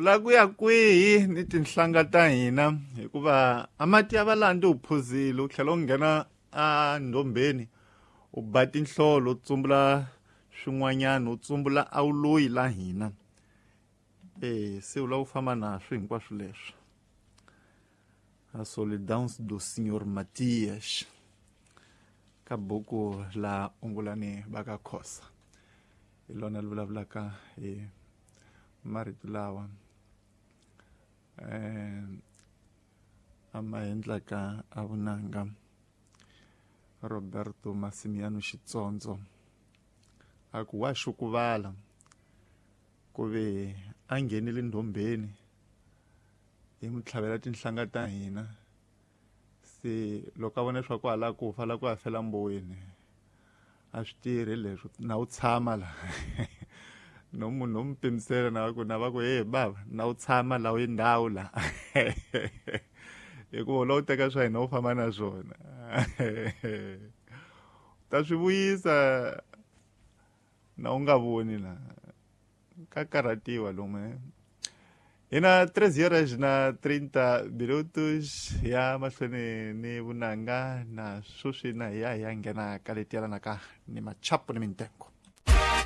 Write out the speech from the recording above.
La ku ya kwihi ni tinhlanga ta hina, hikuva a mati ya valandi u phuzile, u tlhela u nghena a ndombeni u ba tinhlolo, u tsumbula swin'wanyana, u tsumbula a wu loyi la hina. E se u lava u famba naswo hinkwaswo leswi. A Solidão do Senhor Matias, ka buku la Ungulani va ka Khosa, hi lona li vulavulaka hi marito lawa a ma endlaka a vunanga Roberto Massimiano Xitsondzo, a ku wa xukuvala ku ve a nghenile ndombeni hi n'wi tlhavela tinhlanga ta hina. Se loko a vona leswaku a lava ku fa, la ku ya fela mboweni, a swi tirhi leswo na wu tshama la no munhu no mu pimisela na ku na va ku, hey bava, na wu tshama la wu ndhawu la, hikuva u lava u teka swa hina u famba na swona, ta swi vuyisa na u nga voni la ka karhatiwa lomu. Hina 3 horas na 30 minutos, ya mahlweni ni vunanga na sweswi na hi ya hi ya nghena ka leti yelanaka ni machapu ni mintengo.